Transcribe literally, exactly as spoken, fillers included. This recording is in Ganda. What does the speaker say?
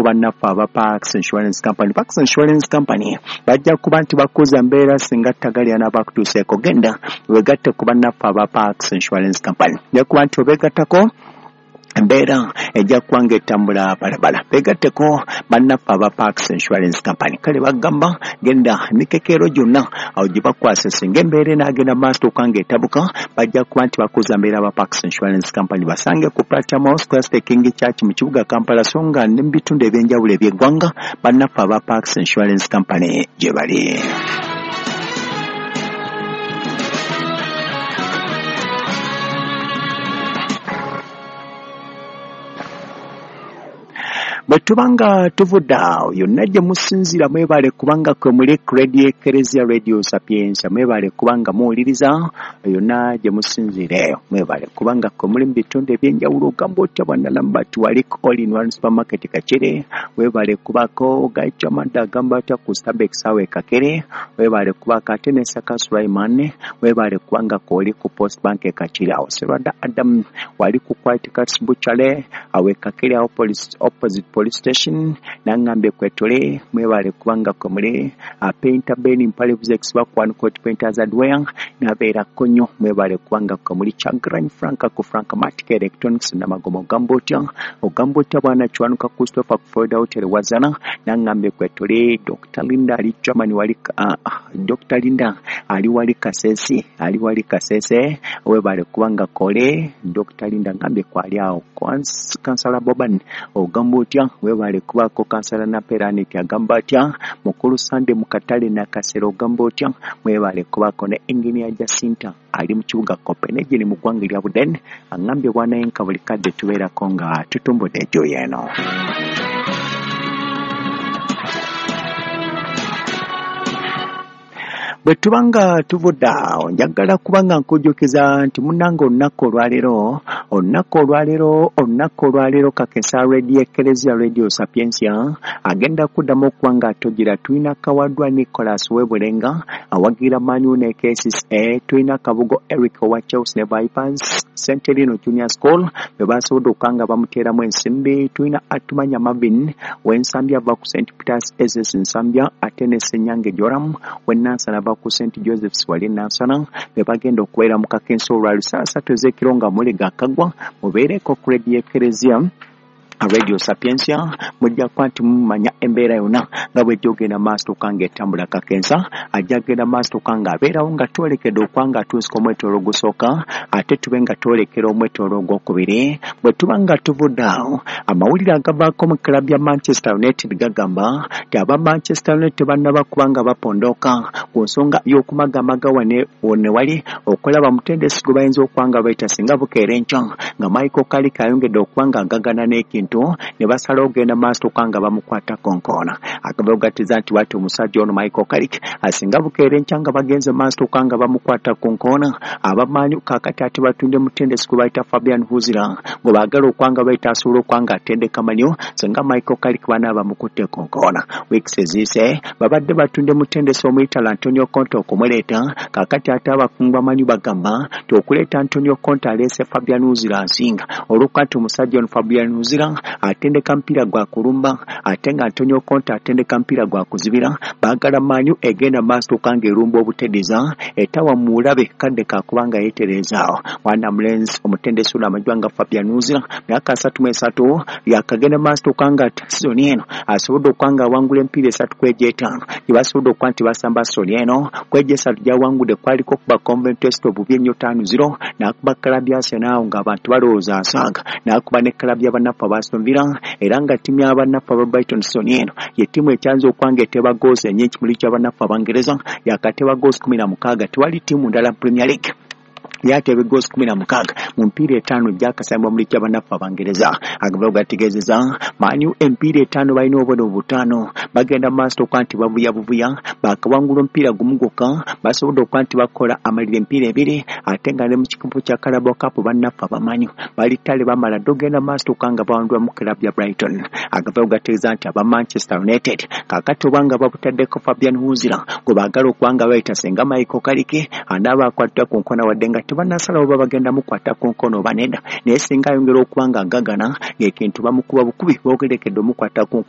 bannaffe aba Pax Insurance Company. Pax Insurance Company bajja kuba nti bakuza mbeera singa ttagali anaabakutuuseeko. Genda wegatte ku bannaffe aba Pax Insurance Company, nja kuba nti obeegattako embeera ejja kuba ng'etambula balabala. Beegatteko bannaffe aba Pax Insurance Company. Kale bagamba genda emikekeero gyonna awo gye bakwasa, singa embeera enaagenda maaso okuba ng'etabuka bajja kuba nti bakuza mbeera aba Pax Insurance Company. Basange ku Platinum House Christ King Church mu kibuga Kampala, so nga ne mu bitundu eby'enjawulo eby'eggwanga bannaffe aba Pax Insurance Company gye bali. Bwe tuba nga tuvudde awo yonna gye musinziira, mwebale kubanga kwe muli ku Radio Ekereziya Radio Sapientia, mwebale kubanga muwuliriza yonna gye musinziira eyo, mwebale kubanga kwe muli mu bitundu eby'enjawulo. Ogamba otya bwana Lambert wali ku All in One Supermarket Kakere, webale kubaako Gaichamanda agamba atya ku Starbucks awo e Kakere, webale kubaako ate ne Saka Sulaiman, webale kubanga kwoli ku Post Bank e Kakere awo Serwada Adam wali ku White Cats Butchery awo e Kakere awo police opposite police station, nangambye kwetole mwebale kubanga kwe muli Painter Ben Mpalevuzex bakwan Court Painters and Wear nabeerako nnyo, mwebale kubanga kwe muli Chagran Frank ku Frank Matic Electronics Namagomo ogamba otya ogamba otya bwana Kiwanuka Christopher ku Florida Hotel Wazana, nangambye kwetole Doctor Linda ali Germany wali uh, Doctor Linda ali wali Kasese ali wali Kasese, webale kubanga kole Doctor Linda ngambye kwali awo Kansala Boban ogamba otya webale kubaako Kansala Naperaniki agamba atya Mukulu Sande Mukatale Nakasero ogamba otya mwebale kubaako ne Engineer Jacinta ali mu kibuga Copenhagen mu ggwanga erya Buden angambye bwanayenka buli kadde tubeerako nga tutumbudde ejjo yeeno. Bwe tuba nga tuvudde awo njagala kuba nga nkujjukiza nti munnange olunaku olwaleero olunaku olwaleero olunaku olwaleero Kakesa Radio Ekereziya Radio Sapientia agenda kuddamu okuba nga atogira. Tulina Kawadwa Nicholas Webulenga awagira Man U ne K C C A, tulina Kabugo Eric owa Chelsea ne Vipers, Centerino Junior School be basobodde okuba nga bamuteeramu ensimbi, tulina Atumanya Marvin w'Ensambya ava ku Saint Peters S S Nsambya, ate ne Ssenyange Joram w'e Nansana ava ku Saint Joseph's wali Nansana, be bagenda okubeera mu kakensa olwa ssaawa ssatu ez'ekiro nga muli gakagwa. Mubeereko ku Radio Ekereziya Radio Sapientia mujja kuba nti mumanya embeera yonna nga bw'ejja ogenda maaso okuba nga etambula. Kakensa ajja kugenda maaso okuba nga abeerawo nga twolekedde okuba nga atuusika omwetooloolo ogusooka ate tube nga twolekera omwetooloolo ogwokubiri. Bwe tuba nga tuvudde awo amawulire agavaako mu club ya Manchester United gagamba nti aba Manchester United tebannaba kuba nga bapondooka ku nsonga y'okumagamaga wane wone wali okulaba mutendesi gwe bayinza okuba nga bayita singa bukeera enkya nga Michael Carrick ayongedde okuba nga agagana n'ekintu ne basalawo ogenda maaso okuba nga bamukwata konkoona. Akabogatiza nti wati omusajja ono Michael Carrick asinga bukeera enkya nga bagenze maaso okuba nga bamukwata konkoona. Abamanyi kaakati ate batunde mutendesi gwe bayita Fabian Huzira gwe baagala okuba nga bayita asobola okuba nga atendeka manyo singa Michael Carrick banaaba bamukutte konkoona. Weeks eziyise babadde batunde mutendesi omuyitala Antonio Conte okumuleeta, kaakati ate abakungu bamanyi bagamba nti okuleeta Antonio Conte aleese Fabian Huzira nsinga olw'okuba nti omusajja ono Fabian Huzira atendeka mpira gwa kulumba ate nga Antonio Conte atendeka mpira gwa kuzibira. Baagala Man U egenda maaso okuba nga erumba obutedeza etawa mulabe kadde kakubanga yeetereezaawo. Mwana mulenzi omutendesi ono amajwa nga Fabian Huzira myaka asatu mu esatu yakagenda maaso okuba nga sizoni eno asobodde okuba nga awangula emipiira esatu ku egyo etaano gye basobodde okuba nti basamba sizoni eno. Ku egyo esatu gy'awangudde kwaliko okuba Coventry City obubi ennyo ttaano zero, n'akuba club ya Arsenal ng'abantu balowooza asaaga, n'akuba ne club y'abannaffe aba Aston Villa, era nga ttiimu y'abannaffe aba Brighton sizoni eno ye ttiimu ekyanze okuba nga eteba goals ennyingi mu liigi y'abannaffe Abangereza, yakateba goals kumi na mukaaga. Tewali ttiimu ndala mu Premier League yateba goals kumi na mukaaga mu mpiira etaano gyakasambibwa mu liigi y'abannaffe Abangereza. Agava gategeezeza Man U emipiira etaano balina obubonero butaano, bagenda mu maaso okuba nti bavuya buvuya, baakawangula omupiira gumu gwokka, basobodde okuba nti bakola amalira emipiira ebiri, ate nga ne mu kikopo kya Carabao Cup bannaffe abamanyi bali ttale bamala dda ogenda mu maaso okuba nga bawangulwa mu club ya Brighton. Agava gategeeza nti aba Manchester United kaakati oba nga babutaddeko Fabian Huzira gwe baagala okuba nga bayita singa Michael Carrick anaaba akwatibwa ku nkona wadde nga tebannasalawo oba bagenda mukwata ku nkono oba nedda, naye singa ayongera okuba nga agagana ng'ekintu bamukuba bukubi boogerekedde omukwata ku nkono.